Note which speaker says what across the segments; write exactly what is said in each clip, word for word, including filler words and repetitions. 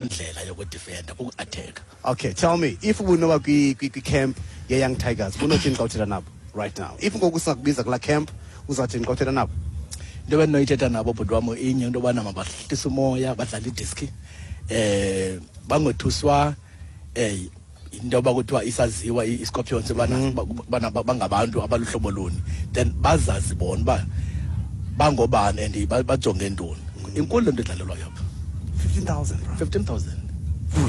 Speaker 1: Ndlela yokudefenda kuku-attack.
Speaker 2: Okay, tell me, if ubunoba kwi-camp ye-Young Tigers, bunothini xa uthetha nabo right now? If ngoku singakubiza kulaa camp, uzawuthini xa uthetha nabo?
Speaker 1: Into ebendinoyithetha nabo, bhuti wam, inye, into yobana mabahlise umoya, badlale idiski, eh bangothuswa eh into yoba kuthiwa isaziwa i-Scorpions bana bana bangabantu abaluhlobo luni, then bazazi bona uba bangobani and ba- bajonge ntoni. Inkulu le nto idlalelwayo apha.
Speaker 2: fifteen thousand, bro.
Speaker 1: fifteen thousand.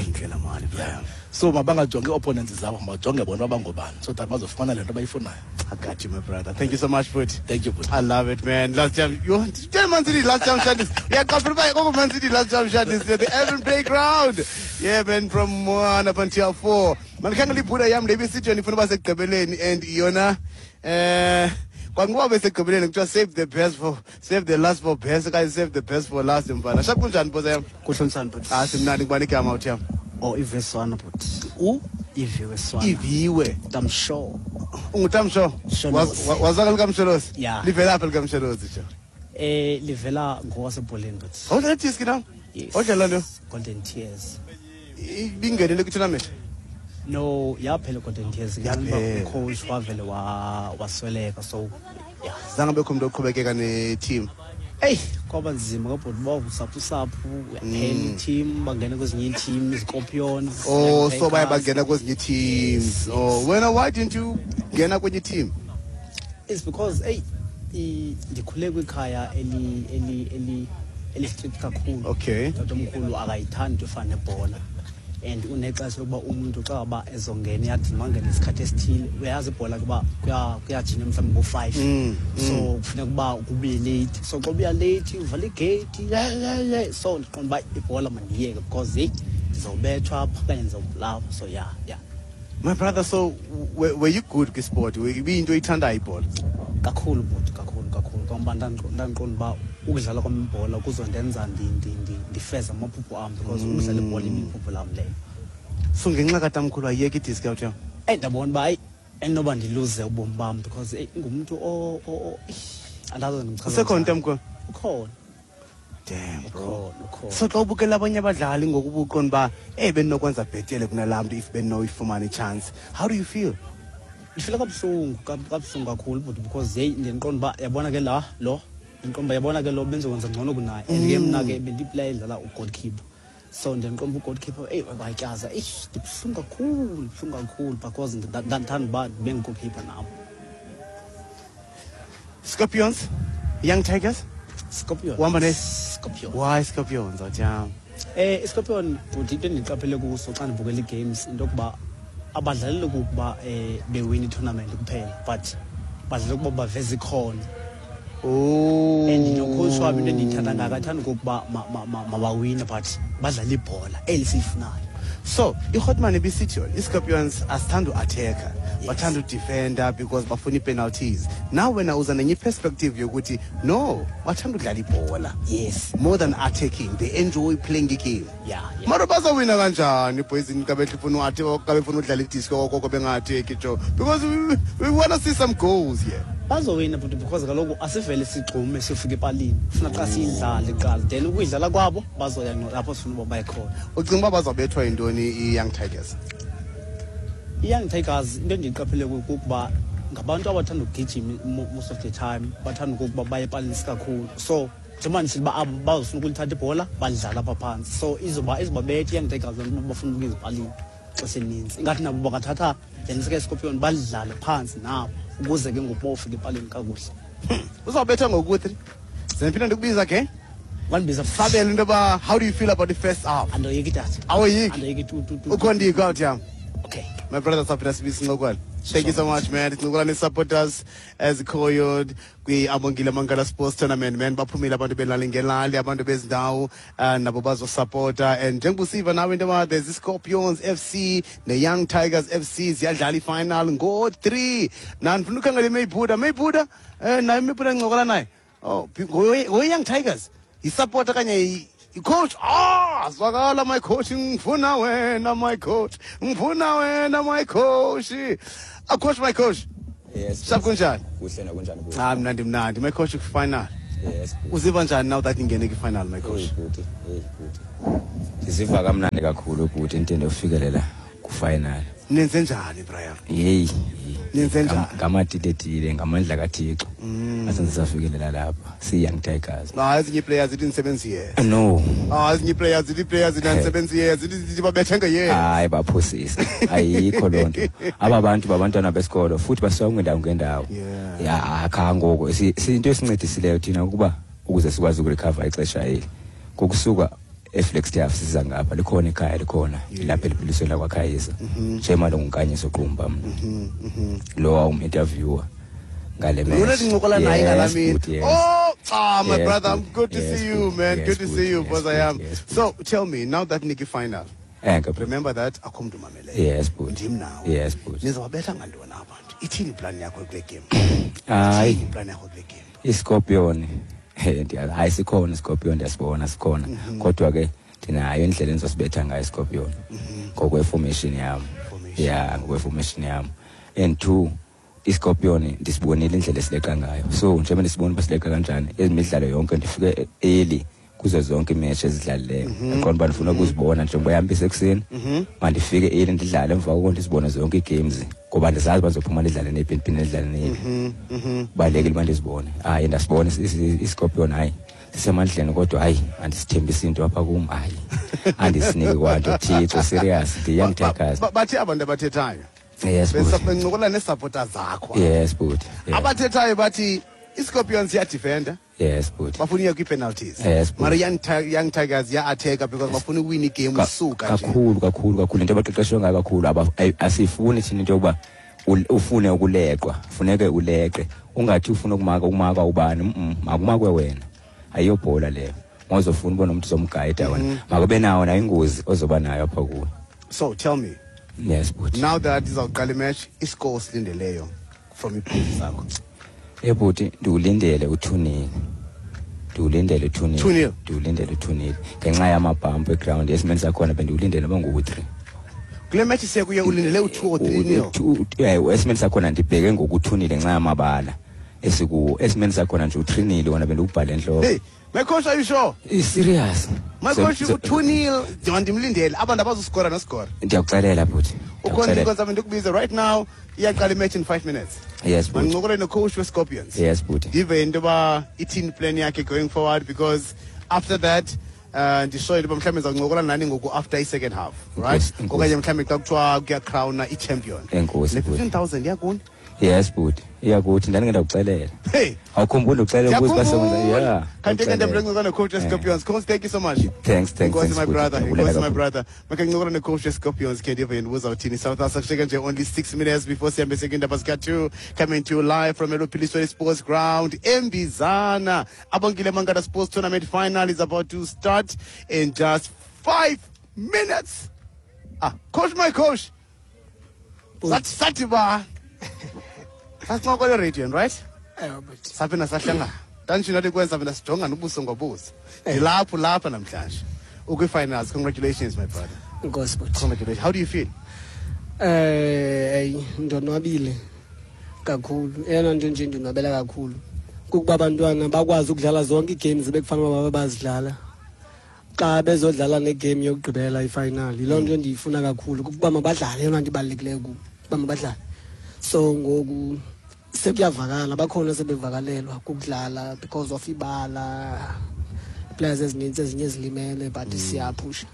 Speaker 2: Intle laa mali, bro.
Speaker 1: Yeah, so mabangajongi ii-opponents zabo, mabajonge bona uba bangobani so that bazofumana le nto bayifunayo.
Speaker 2: I got you, my brother. Thank you so much, Put.
Speaker 1: Thank you, bhuti.
Speaker 2: I love it, man. Last jam. You tell Man City last jam shot is. Yeah, come Man City last jam shot is the Evan Playground. Yeah, man, from one up until four. Man, can't put yam le bisithi ndifuna uba sekugqibeleni and yona eh kwangoba besekugqibeleni kuthiwa save the best for save the last for best okanye save the best for last, mfana. Sharp, kunjani, boss yam?
Speaker 3: Kuhlonisani, bhuti.
Speaker 2: Ah, simnandi. Kubani igama uthi yam?
Speaker 3: Oh, Iviwe Swana, bhuti.
Speaker 2: U
Speaker 3: Iviwe Swana.
Speaker 2: Iviwe.
Speaker 3: Tamsho.
Speaker 2: Ungutamsho?
Speaker 3: Msholozi.
Speaker 2: Wazaka likamsholozi?
Speaker 3: Yeah.
Speaker 2: Livelaphi likamsholozi jo?
Speaker 3: Eh livela ngowasebholeni, bhuti.
Speaker 2: Awudlala diski na?
Speaker 3: Yes.
Speaker 2: Awudlala nto?
Speaker 3: Golden Tears.
Speaker 2: Ibingenele kwi-tournament?
Speaker 3: No, yaphela Golden Tears.
Speaker 2: Yaphela.
Speaker 3: Coach wavele wa wasweleka, so yeah.
Speaker 2: Zange bekho umuntu oqhubekeka ne-team?
Speaker 3: Ey, kwaba nzima kabhuti, ba usaphu saphu yaphela i-team, bangena kwezinye ii-team, Scorpions.
Speaker 2: Oh,
Speaker 3: Young
Speaker 2: so baye
Speaker 3: Tigers.
Speaker 2: Bangena kwezinye ii-teams. Oh, wena, why didn't you ngena kwenye team?
Speaker 3: It's because, hey, i- ndikhule kwikhaya eli eli eli eli strict kakhulu.
Speaker 2: Okay.
Speaker 3: Tatomkhulu akayithandi into efana nebhola and unexesha lokuba umuntu xa uba ezongena eyadini mangene isikhathi esithile. Uyayazi ibhola kuba kuyajinywa mhlawumbi ngo-five,
Speaker 2: Mm,
Speaker 3: so kufuneka uba kubuye late, so xa ubuya late uvala igeyiti ye ye ye so ndiqonda uba ibhola mandiyeke because heyi, ndizawubethwa apha okanye ndizawubulawa, so yeah yeah
Speaker 2: My brother, so were, were you good kwisport? Ibiyinto oyithandayo ibhola?
Speaker 3: Kakhulu, bhuti, kakhulu kakhulu, kangoba ndandiqonda uba ukudlala kwam ibhola kuzondenza ndi- ndi- ndi- ndifeze amaphupho am because ukudlala ibhola ibiphupho lam leyo.
Speaker 2: So ngenxa katamkhulu ayiyeka idiski out yam?
Speaker 3: Eyi, ndabona uba hayi, enoba ndiluze ubomi bam because eyi, ingumntu o- o- o- eish, andazi ndimchaza
Speaker 2: Usekhona
Speaker 3: njani.
Speaker 2: utamkhulu?
Speaker 3: Ukhona.
Speaker 2: Damn, bro.
Speaker 3: Ukhona, ukhona.
Speaker 2: So xa ubukela abanye abadlali ngoku ubuqonda uba eyi, bendinokwenza bhetele kunalaa mntu if bendinoyifumana i-chance, how do you feel?
Speaker 3: Ndifila kabuhlungu, kab- kabuhlungu kakhulu, bhuti, because yeyi, ndiqonda uba yabona ke la lo, ndiqonda uba yabona ke lo bendizokwenza ngcono kunaye, and ke mna ke bendiyiplayer edlala ugoalkeeper, so ndiqonda uba ugoalkeeper, eyi, bayityaza. Eish, ndibuhlungu kakhulu, ndibuhlungu kakhulu because nda- ndandithanda uba ndibe ngugoalkeeper nam.
Speaker 2: Scorpions, Young Tigers?
Speaker 3: Scorpion.
Speaker 2: Uhamba ne-
Speaker 3: Scorpion.
Speaker 2: Why Scorpions, awutyam?
Speaker 3: Eh iScorpion, bhuti, into endiqaphele kuso xa ndibukela ii-games, into yokuba abadlaleli kukuba um bewina i-tournament kuphela, but badlala ukuba baveze ikhono
Speaker 2: Oh.
Speaker 3: and nocoach wabo, into endiyithanda ngako, athanda okokuba ma- ma- ma- mabawine but badlale ibhola eli siyifunayo.
Speaker 2: So iHotman ibisithi yona iScorpions asithanda uattacka,
Speaker 3: Yes.
Speaker 2: bathanda udefenda because bafuna ii-penalties. Now wena uza nenye iperspective yokuthi no, bathanda udlala ibhola
Speaker 3: yes
Speaker 2: more than attacking. They enjoy playing igame.
Speaker 3: yeah, yeah.
Speaker 2: Mara bazawina kanjani poison xa befuna xa befuna udlala idiski okoko benga-attacki jo? Because we, we want to see some goals here.
Speaker 3: Bazowina, but because kaloku asivele sigxume siyofika epalini, funa xa siyidlale kuqala, then ukuyidlala kwabo bazoya ngqo lapho sifuna uba baye khona.
Speaker 2: Ucinga uba bazawubethwa yintoni i-Young Tigers?
Speaker 3: I-Young Tigers, into endiyiqaphele kukuba ngabantu abathanda ukugijima mo- most of the time, bathanda okokuba baye epalini kakhulu, so njengoba ndisithi uba abo bazofuna ukulithatha ibhola balidlala apha phantsi, so izoba izobabetha i-Young Tigers loo nto uba bafuna ukuya ezipalini ixesha elinintsi. Ingathi nabo bangathatha le nto sike balidlale phantsi nabo ukuze ke ngoku bawufika epalini kakuhle.
Speaker 2: Uzawubethwa ngoku-three, zendiphinda ndikubiza ke.
Speaker 3: Wandibiza.
Speaker 2: Sabele into yoba how do you feel about the first half?
Speaker 3: Andoyiki, tata.
Speaker 2: Awoyiki?
Speaker 3: Andoyiki tu tu tu.
Speaker 2: Ukhondiko out yam.
Speaker 3: Okay.
Speaker 2: My brother, saphinda sibiza sincokola. Thank you so much, man. Sincokola nee-supporters ezikhoyo kwi-Abongile Mangala Sports Tournament, man. Baphumile abantu belali ngelali, abantu bezindawo uh, nabo bazosupporta, and njengoba usiva nawe into yoba there's i-Scorpions F C ne-Young Tigers F C ziyadlala i-final ngo-three. Na ndifuna ukhangela iMaybuda, Maybuda um naye Maybuda ndincokola naye. Oh, ngoye-Young Tigers yisupporter kanye i- i-coach. Ah, zwakala my coach, ngifuna wena my coach, ngifuna wena my coach. Ah, coach, my coach.
Speaker 4: Yes.
Speaker 2: Sharp, kunjani?
Speaker 4: Kuhle, nakunjani kuwe?
Speaker 2: Ah, mnandi mnandi. My coach, final.
Speaker 4: Yes.
Speaker 2: Uziva njani now that ingene kwi-final, my coach?
Speaker 4: Hey bhuti, hey bhuti. Ndiziva kamnandi kakhulu bhuti into endiyofikelela ku-final.
Speaker 2: Nenze njani, Brian?
Speaker 4: Yeyi.
Speaker 2: Nenze njani?
Speaker 4: Ngamatiletile, ngamandla kaThixo. Asenze safikelela lapha. Si-Young Tigers.
Speaker 2: No, ezinye ii-players zithi nisebenzi yes.
Speaker 4: No.
Speaker 2: Ah, ezinye ii-players zithi ii-players zithi anisebenzi yes, zithi zithi babethe nge-yes.
Speaker 4: Hayi, baphosisa. Ayikho loo nto. Aba bantu babantwana besikolo futhi basuka kwindawo ngendawo.
Speaker 2: Yeah.
Speaker 4: Ya, akha ngoku into esincedisileyo thina ukuba ukuze sikwazi uku-recover ixesha eli. Ngokusuka eFlagstaff siza ngapha, likhona ikhaya, likhona lapha eliphilisweni lakwaKhayisa. Njengoba nguNkanyiso Qumba mna. Lo wawum-interviewer ngale match.
Speaker 2: Lona ndincokola naye ngala
Speaker 4: Yes,
Speaker 2: mini.
Speaker 4: bhuti, yes.
Speaker 2: Oh, ah, my
Speaker 4: Yes,
Speaker 2: brother, I'm
Speaker 4: bhuti.
Speaker 2: good to
Speaker 4: Yes,
Speaker 2: see you,
Speaker 4: bhuti.
Speaker 2: man.
Speaker 4: Yes,
Speaker 2: Good to
Speaker 4: bhuti.
Speaker 2: see you,
Speaker 4: Yes,
Speaker 2: boss I am.
Speaker 4: bhuti. Yes, bhuti.
Speaker 2: So, tell me, now that Nikki final,
Speaker 4: Eh, bhuti.
Speaker 2: remember that akho mntu umameleyo.
Speaker 4: Yes, bhuti.
Speaker 2: Ndim nawe.
Speaker 4: Yes, bhuti.
Speaker 2: Nizawabetha ngantoni abantu? Ithini iplan yakho kule game?
Speaker 4: Hayi.
Speaker 2: Ithini iplan yakho kule game?
Speaker 4: iScorpion, eh ndiya hayi, sikhona iScorpion, ndiyasibona sikhona, kodwa ke ndinayo indlela endizosibetha ngayo iScorpion ngokwe-formation yam.
Speaker 2: Formation.
Speaker 4: Ya, ngokwe-formation yam. And two, iScorpion ndisibonile indlela esileqa ngayo, so njengoba ndisibona uba sileqa kanjani ezimidlalo yonke, ndifike early kuzo zonke iimatch ezidlalileyo. Aqonda uba ndifuna ukuzibona njengoba yam isekuseni, mandifike early ndidlale, emva koko ndizibone zonke ii-games, ngoba ndizazi uba ndizophuma ndidlale neyiphi, ndiphinde ndidlale neyiphi. Kubalulekile uba ndizibone. Hayi, ndasibona iScorpion, hayi, sisemandleni, kodwa hayi, andisithembisi into apha kum, hayi, andisiniki kwanto. Thixo, serious, ndiyi-Young Tigers.
Speaker 2: Ba- Bathi abantu abathethayo.
Speaker 4: Yes, bhuti.
Speaker 2: Bencokola nee-supporter zakho.
Speaker 4: Yes, bhuti. Yes.
Speaker 2: Abathethayo bathi iScorpions iyadefenda.
Speaker 4: Yes, bhuti.
Speaker 2: Bafuna uya kwii-penalties.
Speaker 4: Yes, bhuti.
Speaker 2: Mara Young, Ti- Young Tigers iya-attacka because bafuna uwina igame
Speaker 4: Ka-
Speaker 2: usuka nje.
Speaker 4: Kakhulu, kakhulu, kakhulu. Into abaqeqeshwe ngayo kakhulu, aba- ayi- asifuni thina into yokuba ul- ufune ukuleqwa, funeke uleqe, ungathi ufuna ukumaka, ukumaka ubani, mm makumakwe wena, ayiyobhola leyo. Ngozofuna ubona umuntu ozomgayida wena, makube nawo nayo ingozi ozoba nayo apha kuwe.
Speaker 2: So tell me,
Speaker 4: Yes, bhuti.
Speaker 2: now that izawuqala imatch, iscore silindeleyo from iibhuti zakho?
Speaker 4: Eh bhuti, ndiwulindele u-two nil, ndiwulindele u-two nil.
Speaker 2: Two nil.
Speaker 4: Ndiwulindele u-two nil ngenxa yamabhampu eground esimeni sakhona. Bendiwulindele noba ngu-three.
Speaker 2: Kule match sekuye ulindele u-two or three nil?
Speaker 4: Esimeni sakhona ndibheke ngoku-two nil ngenxa yamabala esikuwo. Esimeni sakhona nje u-three nil wona bendiwubhale entloko.
Speaker 2: Hey, my coach, are you sure?
Speaker 4: I-serious.
Speaker 2: My coach, u-two nil ndimlindele, abantu abazuskora noskora.
Speaker 4: Ndiyakuxelela, bhuti.
Speaker 2: Ukhona
Speaker 4: Ndiyakuxelela.
Speaker 2: inkonzo ndikubize right now, iyaqala imatch in five minutes.
Speaker 4: Yes, bhuti.
Speaker 2: Mandincokole nocoach weScorpions.
Speaker 4: Yes, bhuti.
Speaker 2: Ndive into yoba ithini plan yakhe going forward, because after that uh ndisho into yoba mhlawumbi ndizawuncokola nani ngoku after i-second half, right?
Speaker 4: Enkosi, enkosi.
Speaker 2: Okanye mhlawumbi xa kuthiwa kuyacrowna i-champion.
Speaker 4: Enkosi,
Speaker 2: Le
Speaker 4: bhuti.
Speaker 2: fifteen thousand iyakuni?
Speaker 4: Yes, bhuti, iyakuthi ndandike ndakuxelela.
Speaker 2: Hey.
Speaker 4: Awukhumbuli uxelela ukuze basebenza?
Speaker 2: Ndiyakhumbula.
Speaker 4: Yeah.
Speaker 2: Kanti ke
Speaker 4: ndakuxelela.
Speaker 2: ndiyabuleka nocoach weScorpions. Coach, thank you so much.
Speaker 4: Thanks, thanks,
Speaker 2: Enkosi,
Speaker 4: thanks,
Speaker 2: my
Speaker 4: bhuti.
Speaker 2: brother.
Speaker 4: Ndiyabulela
Speaker 2: Enkosi, my
Speaker 4: kakhulu.
Speaker 2: brother. Make ngincokola nocoach weScorpions ke, ndive yena uzawuthini. South Africa nje only six minutes before sihambe sekindaba zika two, coming to you live from Eluphilisweni Sports Ground, Mbizana. Abongile Mangata Sports Tournament final is about to start in just five minutes. Ah, coach, my coach. Sathi sathi ba. Sasincokola radio, right?
Speaker 5: Ewe, bhuti.
Speaker 2: Saphinda sahlangana. Ndanditsho nathi kwenza phinda sijongane ubuso ngobuso. Ndilapho lapha namhlanje. Ukwi-finals. Congratulations, my brother.
Speaker 5: Enkosi, bhuti.
Speaker 2: Congratulations. How do you feel?
Speaker 5: Eh hey, ndonwabile kakhulu. Eyona nto nje ndonwabela kakhulu kukuba abantwana bakwazi ukudlala zonke ii-games bekufanele uba babe bazidlala xa bezodlala negame yokugqibela, ifinal. Yiloo nto ndiyifuna kakhulu, kukuba mabadlale. Eyona nto ibalulekileyo kubo kuba mabadlale. So ngoku sekuyavakala, bakhona sebevakalelwa kukudlala because of ibala, players ezinintsi ezinye zilimele, but siyaphusha.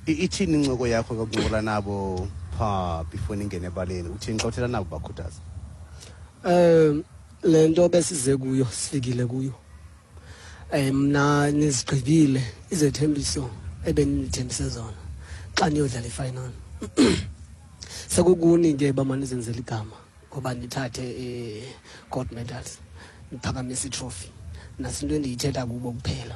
Speaker 2: I- Ithini incoko yakho yokuncokola nabo pha before ningene ebaleni? Uthini xa uthetha nabo, bakhuthaza?
Speaker 5: Um le nto besize kuyo sifikile kuyo. um mna nizigqibile izethembiso ebenithembise zona xa niyodlala ifinal. Sekukuni ke uba manizenzele igama, ngoba nithathe i-gold medals, niphakamise itrophy. Nasi into endiyithetha kubo kuphela.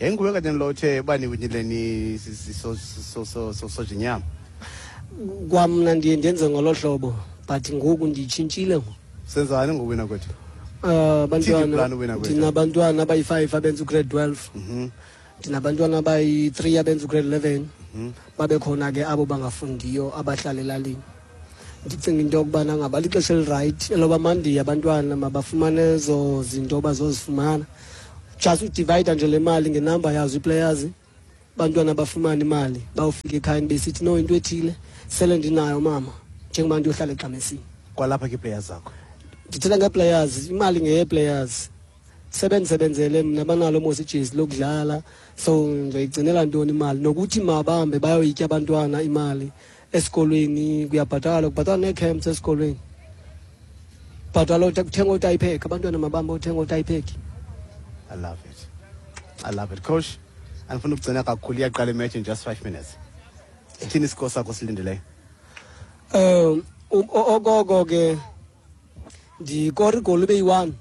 Speaker 2: Yayinguwe kanye lo uthe uba niwinile ni soja inyama.
Speaker 5: Kwamna ndiye ndenze ngolo hlobo, but ngoku ndiyitshintshile ngoku.
Speaker 2: Senzani ngowina kwethu?
Speaker 5: Uh,
Speaker 2: Ithini
Speaker 5: abantwana
Speaker 2: iplani uwina kwethu?
Speaker 5: Ndinabantwana abayi-five abenza ugrade twelve.
Speaker 2: Mhm.
Speaker 5: Ndinabantwana abayi-three abenza ugrade eleven. Babe khona ke abo bangafundiyo abahlala elalini. Ndicinga into yokubana ngaba lixesha elirayithi eloba mandiye abantwana mabafumane ezo zinto bazozifumana. Just udivide nje le mali ngenamba yazo ii-players, bantwana bafumane imali, bawufika ekhayeni besithi no, into ethile sele ndinayo mama, njengoba ndiyohlala eGqamesini.
Speaker 2: Kwalapha kii-players zakho?
Speaker 5: Ndithetha ngee-players, imali ngeye-players. Sebenzisebenzele mna, banalo mos ijezi lokudlala, so ndizoyigcinela ntoni imali? Nokuthi mabahambe bayoyitya abantwana imali esikolweni, kuyabhatalwa, kubhatalwa nee-camps esikolweni, bhatalwa kuthenga ootayiphekhi, abantwana mabahambe othenga ootayiphekhi.
Speaker 2: I love it. I love it. Coach, andifuna ukugcina kakhulu, iyaqala imatch in just five minutes. Sithini iscore sakho silindeleyo?
Speaker 5: Um okoko ke ndikora igoli ibe yi-one.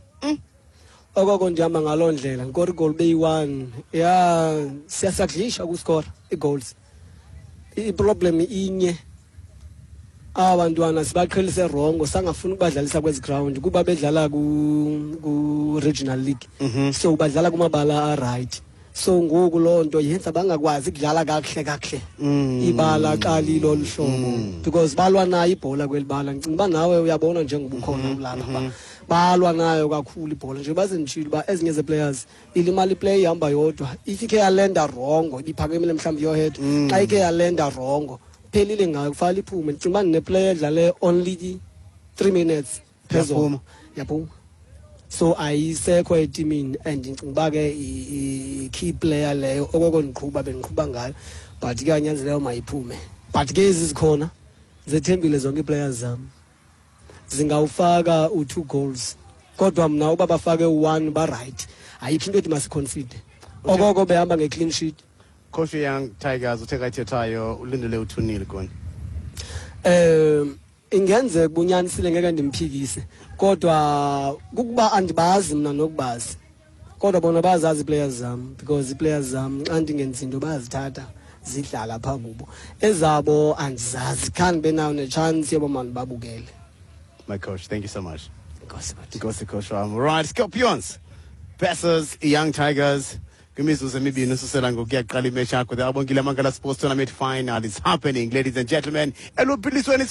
Speaker 5: Okoko ndihamba ngaloo ndlela, ndikora igoli ibe yi-one. Ya, siyasakudlisha ukuskora ii-goals. Iproblem inye, aba bantwana sibaqhelise wrongo, sangafuni ukubadlalisa kwezi ground kuba bedlala ku-regional league, so badlala kumabala a-right. So ngoku loo nto yenza bangakwazi ukudlala kakuhle kakuhle ibala xa lilolu hlobo, because balwa nayo ibhola kweli bala. Ndicinga uba nawe uyabona njengoba ukhona kulapha uba balwa nayo kakhulu ibhola. Nje bazenditshilo uba ezinye zee-players ilimala iplay ihamba yodwa, if ikhe yalenda wrongo, ibiphakamile mhlawumbi yohead, xa ikhe yalenda wrongo phelile ngayo, kufanele iphume. Ndicinga uba ndineplayer edlale only three minutes phezulu, yaphuma, so ayisekho etimini. And ndicinga uba ke i-key player leyo okoko ndiqhuba bendiqhuba ngayo, but ke anyanzeleyo mayiphume. But ke ezi zikhona zethembile zonke ii-players zam zingawufaka u-two goals, kodwa mna uba bafake u-one ba-right. Ayikho into ethi masiconcede, okoko behamba nge-clean sheet.
Speaker 2: Coach, Young Tigers uthe kayithethayo ulindele u-two nil koni.
Speaker 5: Um ingenzeka ubunyanisile, ngeke ndimphikise, kodwa kukuba andibazi mna nokubazi, kodwa bona bayazazi ii-players zam, because ii-players zam xa ndingenzi into bayazithatha zidlala phaa kubo. Ezabo andizazi, khange benayo nechance yoba mandibabukele.
Speaker 2: My coach, thank you so much.
Speaker 5: Enkosi, bhuti.
Speaker 2: Enkosi, coach wam. Right, Scorpions versus Young Tigers. Kwimizuzu emibini ususela ngoku kuyaqala imatch yakho. The Abongile Mangala Sports Tournament final is happening, ladies and gentlemen. Eluphilisweni.